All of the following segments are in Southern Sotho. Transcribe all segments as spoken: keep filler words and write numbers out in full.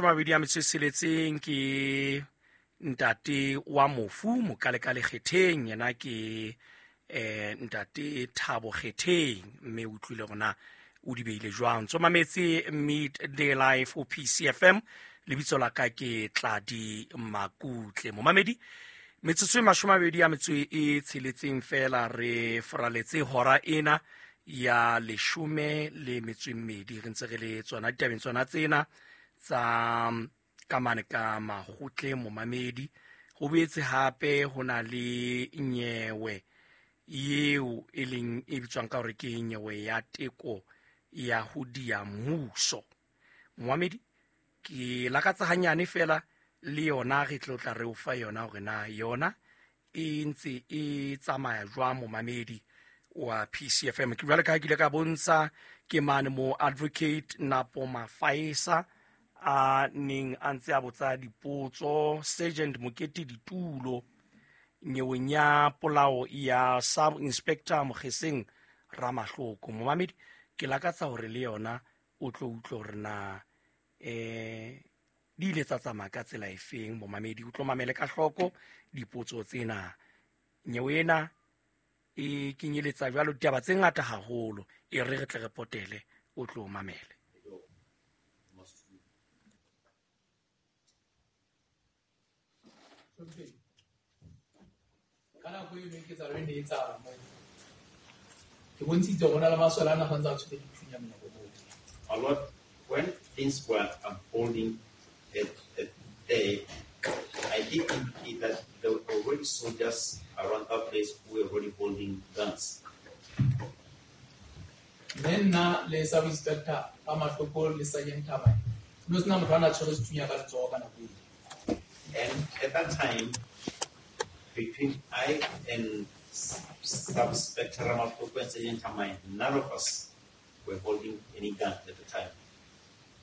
Mabedi a metso e tsheletseng ke ntate wa mofu Mokalekale Kgetheng, yena ke eh ntate Thabo Kgetheng, mme o utlwile hore na o di beile jwang. Ntso mametse Midday Live o P C F M, lebitso la ka ke Tladi Makutle. Momamedi, metsotso e mashome a mabedi a metso e tsheletseng fela re foraletse hora ena ya leshome le metso e mmedi, re ntse re le tsona ditabeng tsona tsena tsa ka mane ka makgotleng. Momamedi, ho boetse hape ho na le nyewe eo e leng e bitswang ka hore ke nyewe ya teko ya ho dia mmuso. Momamedi, ke lakatsa hanyane fela le yona re tlo tla re o fa yona hore na yona e ntse e tsamaya jwang. Momamedi wa P C F M, ke jwale ka ha ke ile ka bontsha ke mane mo Advocate Napo Mafaesa a neng a ntse a botsa dipotso Sergeant Mokete Ditulo nyeweng ya polao ya Sub Inspector Mokgeseng Ramahloko. Momamedi, ke lakatsa hore le yona o tlo utlwe hore na eh di ile tsa tsamaya ka tsela efeng. Momamedi, o tlo mamele ka hloko dipotso tsena. Nyewe ena e kenyeletsa jwalo ditaba tse ngata haholo, e re re tle re potele, o tlo mamele. Ka nako eno e ketsahalo e ne e etsahala moo, ke bontshitse hore ho na le masole a na santse a tshwere dithunya monyako moo. A lot when things were unfolding at, at there, I did indicate that there were already soldiers around that place who were already holding guns. Mme nna le Sub Inspector Ramahloko le Sergeant Thabane, ho no sena motho a na tshwere sethunya ka letsoho ka nako eo. And at that time, between I and Sub Inspector Ramahloko and Sergeant Thamane, none of us were holding any gun at the time.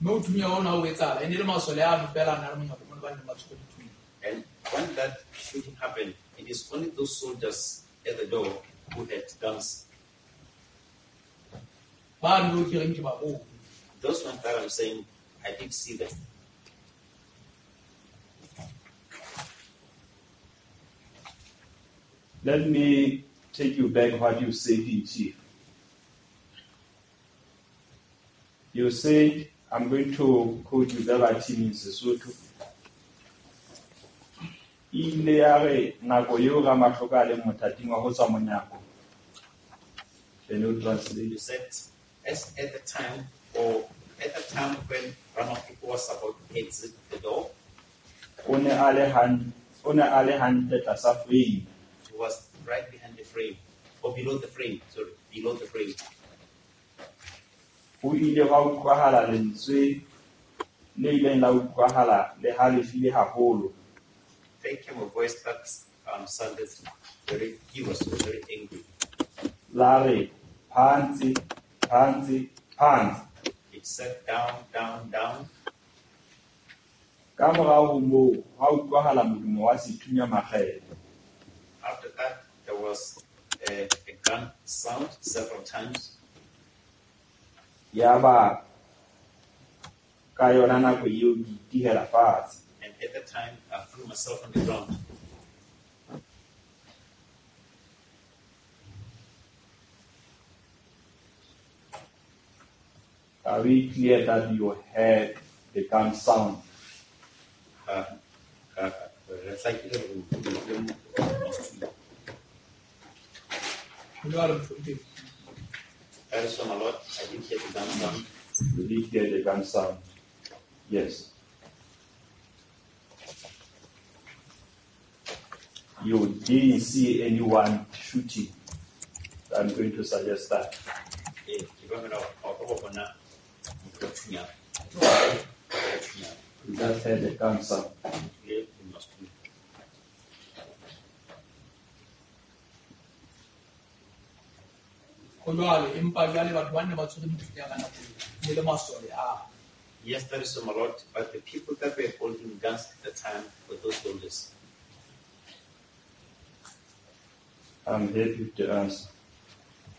Mme ho thunya hona ho etsahala, e ne le masole ano fela a na le monyako mono ba neng ba tshwere dithunya. And when that shooting happened, it is only those soldiers at the door who had guns. Ba no ke reng ke ba bone. Those ones that I'm saying, I did see them. Let me take you back what you said in chief. You said, I'm going to quote you verbatim in Sesotho. Ile ya re nako eo Ramahloko a leng mothating wa ho tswa monyako. Can you translate? You said, as at the time, or at the time when Ramahloko was about to exit the door, O ne a le han-, o ne a le hantle tlasa frame. He was right behind the frame, or below the frame, sorry, below the frame. Ho ile hwa utlwahala lentswe le ileng la utlwahala le halefile haholo. There came a voice that, um, sounded very, he was very angry. La re, phansi, phansi, phansi. It said down, down, down. Ka morao ho moo, hwa utlwahala modumo wa sethunya makgetlo. After that, there was a, a gun sound several times. Yaba ka yona nako eo ke itihela fatshe. And at that time, I threw myself on the ground. Are we clear that you heard the gun sound? Uh, uh, That is from a lot. I didn't hear the gun sound. You did hear the gun sound. Yes. You didn't see anyone shooting. I'm going to suggest that. You just heard the gun sound. Ho jwalo, empa jwale batho ba ne ba tshwere dithunya ka nako eo, ne le masole a. Yes, that is a lot, but the people that were holding guns at the time were those soldiers. I'm happy with the answer.